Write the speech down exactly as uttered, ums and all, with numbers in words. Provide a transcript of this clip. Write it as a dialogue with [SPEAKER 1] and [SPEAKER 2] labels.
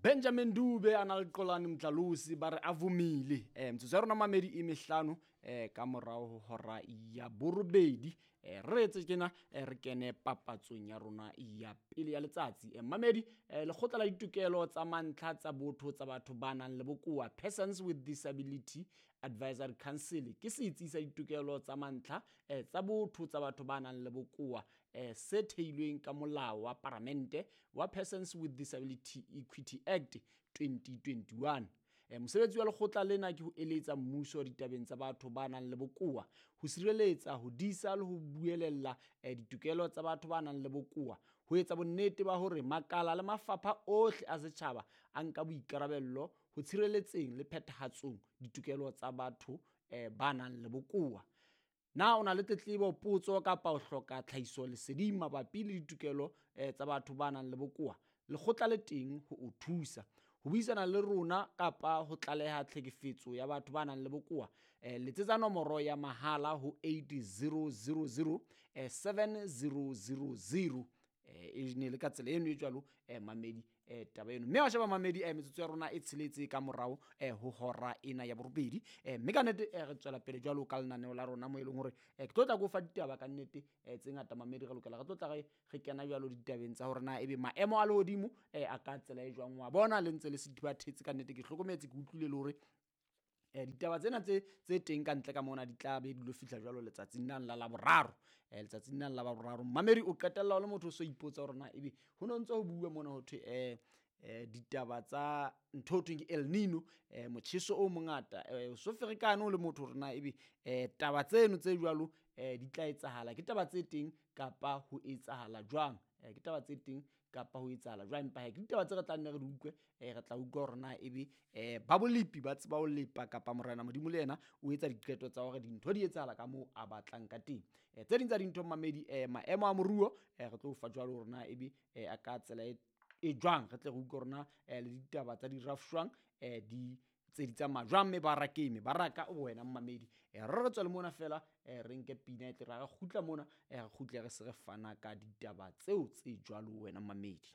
[SPEAKER 1] Benjamin Dube a na le Qolane Mdlalosi ba re a vomile. Eh metsotso ya rona mamedi e mehlano eh ka morao ho hora ya borobedi. Eh re etse tjena eh, re kene papatsong ya rona ya pele ya letsatsi. Eh mamedi eh, lekgotla la ditokelo tsa mantlha tsa botho tsa batho ba nang le bokowa Persons with Disability Advisory Council ke setsi sa ditokelo tsa mantlha eh, tsa botho tsa batho ba nang le bokowa eh, se theilweng ka molao wa paramente wa Persons with Disability Equity Act twenty twenty-one. Eh, mosebetsi wa lekgotla lena ke ho eletsa mmuso ditabeng tsa batho ba nang le bokowa, ho sireletsa, ho disa le ho buelella eh, ditokelo tsa batho ba nang le bokowa, ho etsa bonnete ba hore makala le mafapha ohle a setjhaba a nka boikarabello ho tshireletseng le phethahatsong ditokelo tsa batho eh, ba nang le bokowa. Na o na le tletlebo, potso kapa o hloka tlhahiso leseding mabapi le ditokelo eh, tsa batho ba nang le bokowa? Lekgotla le teng ho o thusa. Ho buisana le rona kapa ho tlaleha tlhekefetso ya batho ba nang le bokowa, eh, letsetsa nomoro ya mahala ho eight zero zero zero, eh, seven zero zero zero. Eh, e ne le ka tsela eno e jwalo, eh, mamedi, eh, taba eno. Mme wa sheba mamedi, eh, metsotso ya rona e tsheletse ka morao, eh, ho hora ena ya borobedi. Eh, mme ka nnete, eh, re tswela pele jwalo ka lenaneo la rona mo e leng hore, eh, ke tlo tla ko fa ditaba ka nnete, eh, tse ngata mamedi, re lokela re tlo tla re, re kena jwalo ditabeng tsa hore na ebe maemo a lehodimo, eh, a ka tsela e jwang. Wa bona le ntse le sethibathetse ka nnete, ke hlokometse, ke utlwile le hore eh, ditaba tsena tse, tse teng ka ntle ka mona di tla be di lo fihla jwalo letsatsing lena la Laboraro. Eh, letsatsing lena la Laboraro. Mamedi o qetella o le motho o so ipotsa hore na ebe ho no ntse ho bua mona ho thwe, eh, eh, ditaba tsa ntho ho thweng ke El Nino, eh, motjheso o mongata, eh, o so ferekane o le motho hore na ebe, eh, taba tseno tse jwalo, eh, di tla etsahala. Ke taba tse teng kapa ho etsahala jwang? Eh, ke taba tse teng kapa ho etsahala jwang? Empa he, ke ditaba tse re tla nne re di utlwe, eh, re tla utlwa hore na ebe, eh, ba bolepi ba tseba ho lepa kapa Morena Modimo le yena o etsa diqeto tsa hore dintho di etsahala ka moo a batlang ka teng. Eh, tse ding tsa dintho mamedi, eh, maemo a moruo, eh, re tlo fa jwalo hore na ebe, eh, a ka tsela e, e jwang, re tle re utlwe hore na, eh, le ditaba tsa di rafshwang, eh, di tse di tsamaya jwang mebarakeng, mebaraka o wena mmamedi. Eh, re re tswele mona fela, eh, re nke pina e tle re ha re kgutla mona, eh, re kgutle re se re fana ka ditaba tseo tse jwalo wena mmamedi.